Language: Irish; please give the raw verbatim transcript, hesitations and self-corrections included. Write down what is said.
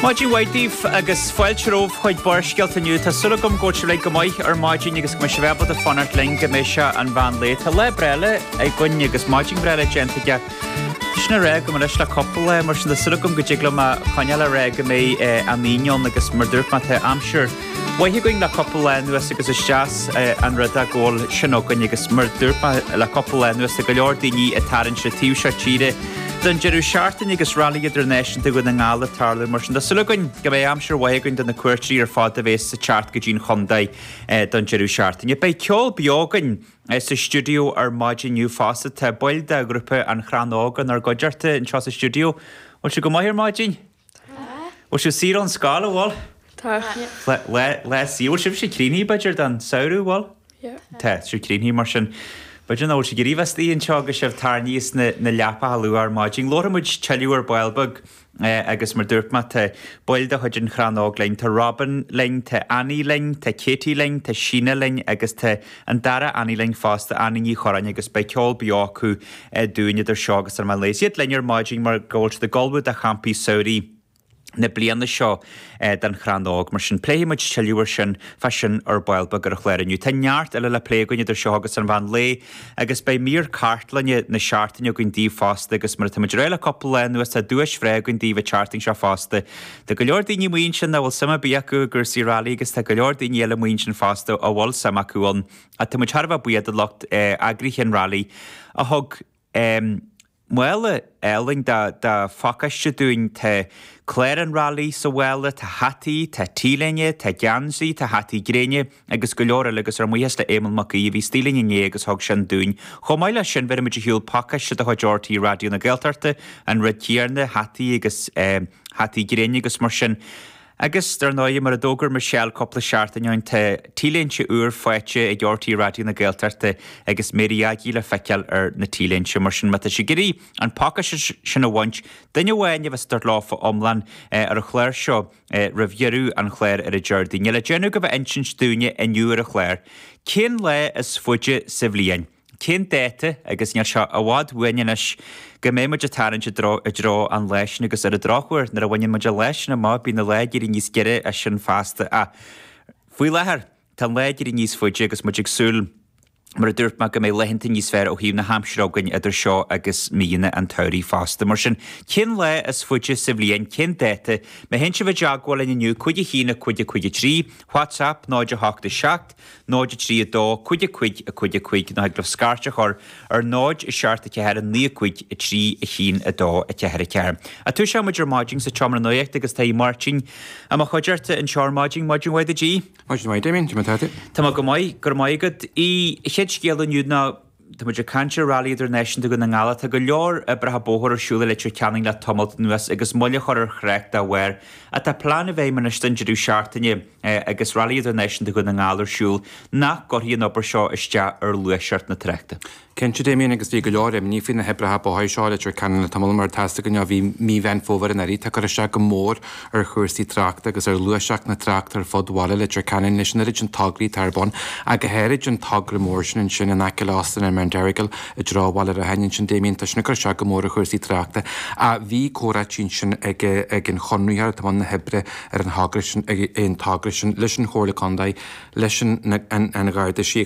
Maidin mhaith daoibh agus fáilte romhaibh chuig Barrscéalta inniu. Tá súil agam go bhfuil sibh go maith ar maidin agus go mbeidh sibh ábalta fanacht linn go mbeidh sé an mheán lae. Tá lá breá againn agus maidin bhreá déanta aige. Sin a rá go leis le cúpla lá mar sin tá súil agam go dtig liom a choinneáil a rá go mbeidh an Aoine ann agus mar dúirt mé tá aimsir mhaith againn le cúpla lá anuas agus is deas an rud é go bhfuil sin againn agus mar dúirt mé le cúpla lá anuas tá go leor daoine ag tarraingt an taobh seo tíre don deireadh seachtaine agus Railí Idirnáisiúnta Dhún na nGall ag tarlú mar sin tá súil againn go mbeidh aimsir mhaith againn do na cuairteoirí ar fad a bheas ag teacht go dtí'n chontae don deireadh seachtaine. Beidh ceol beo againn sa stiúideo ar maidin inniu fosta tá baill de ghrúpa An Chrann Óg inár gcuideachta anseo sa stiúideo. Bhfuil sibh go maith ar maidin? Tá. Bhfuil sibh saor ón scoil an bhfuil? Tá. Le le saor bhfuil sibh sé críochnaithe b'fhéidir don samhradh bhfuil? Tá. Tá sibh críochnaithe mar sin. B'fhéidir nach bhfuil sibh ag iarraidh bheith istigh anseo agus sibh tarraingthe sna na leapacha luath ar maidin. Labharfaidh muid tuilleadh ar ball beag agus mar dúirt mé tá baill de chuid an Chrann Óg linn, tá Robin linn, tá Annie linn, tá Katie linn, tá Síne linn agus tá an dara Annie linn fosta, Annie Ní Chorráin agus beidh ceol beo acu dúinn idir seo agus an meán lae. Is iad linn ar maidin mar go bhfuil siad ag ullmhú do champaí samhraidh na bliana seo den Chrann Óg. Mar sin, pléifidh muid tuilleadh ar sin fá sin ar ball beag ar an chlár inniu. Tá neart eile le plé againn idir seo agus an mheán lae agus beidh mír cartlainne na seachtaine againn daoibh fosta agus mar atá muid ag rá le cúpla lá anuas tá duais bhreá againn daoibh an tseachtain seo fosta. Tá go leor daoine amuigh ansin nach bhfuil suim ar bith acu i gcúrsaí railí agus tá go leor daoine eile amuigh ansin fosta a bhfuil suim acu ann. Ach tá muid thar a bheith buíoch do lucht eagraithe an railí a thug mála álainn de de phacáiste dúinn. Tá clár an railí sa mhála, tá hataí, tá t-léine, tá geansaí, tá hataí gréine agus go leor eile agus ár mbuíochas le Éamonn Mac Aoidh a bhí istigh linn inné agus thug sin dúinn. Chomh maith leis sin bhéarfaidh muid ar shiúl pacáiste de chuid RTÉ Raidió na Gaeltachta, an rud céanna, hataí agus hataí gréine agus mar sin. Agus, dar ndóigh, mar a d'fhógair Michelle cúpla seachtain ó shin, tá T-léinte úr faighte ag RTÉ Raidió na Gaeltachta agus Mary Aggie le feiceáil ar na T-léinte. Mar sin, má tá sibh ag iarraidh an pacáiste sin a bhaint, duine amháin a bheas ag tabhairt leofa iomlán ar an chlár seo roimh dheireadh an chláir ar an Déardaoin. Níl le déanamh ach a bheith ag insint dúinne inniu ar an chlár cén lá is faide sa bhliain. Cén dáta, agus níl sé i bhfad uainn anois, go mbeidh muid ag tarraingt i dtreo, i dtreo an lae sin agus ar an drochuair, nuair a bhaineann muid an lá sin amach, bíonn an lá ag éirí níos giorra as sin feasta. Ach faoi láthair, tá an lá ag éirí níos faide agus muid ag súil, mar a dúirt mé, go mbeidh laethanta níos fearr ó thaobh na haimsire againn idir seo agus míonna an tsamhraidh fosta. Mar sin, cén lá is faide sa bhliain, cén dáta? Má théann sibh i dteagmháil linn inniu, cúig a haon, a cúig a cúig a trí, WhatsApp, náid a hocht a seacht, náid a trí a dó, cúig a cúig a cúig a cúig nó thig libh scairt a chur ar náid a seacht a ceathair a naoi a cúig a trí a haon a dó a ceathair a ceathair. A Toiseoidh muid ar maidin sa tseomra nuachta agus tá Aodh Máirtín i mo chuideachta anseo ar maidin. Maidin mhaith duit Aodh. Maidin mhaith Damien, cad é mar atá tú? Tá mé go maith, go raibh maith agat. Aodh, chéad scéal inniu ná Tá muid ag caint ar Rally Idirnáisiúnta Dhún na nGall. Tá go leor oibreacha bóthair ar siúl i Leitir Ceanainn le tamalt anuas agus moill a chur ar thrácht dá bharr. Ach tá plean i bhfeidhm anois don deireadh seachtaine agus Rally Idirnáisiúnta Dhún na nGall ar siúl nach gcuirfidh an obair seo isteach ar ghluaiseacht na tráchta. Cinnte, Damien, agus bhí go leor imní faoi na hoibreacha bóthair seo i Leitir Ceanainn le tamall mar tá a fhios againn ó bhí mí Mheán Fómhair anuraidh. Tá cur isteach go mór ar chúrsaí tráchta agus ar ghluaiseacht na tráchta ar fud bhaile Leitir Ceanainn leis an oiread sin tograí atá ar bun, ach go háirid an togra mór sin ansin in aice le Óstán an Mount Errigal i dtreo Bhaile Rathain ansin, Damien. Tá sin ag cur isteach go mór ar chúrsaí tráchta. Ach bhí comhráití ansin ag ag an chonraitheoir atá i mbun na hoibre ar an thogra sin, an togra sin leis an Chomhairle Contae, leis an an Gharda Síochána,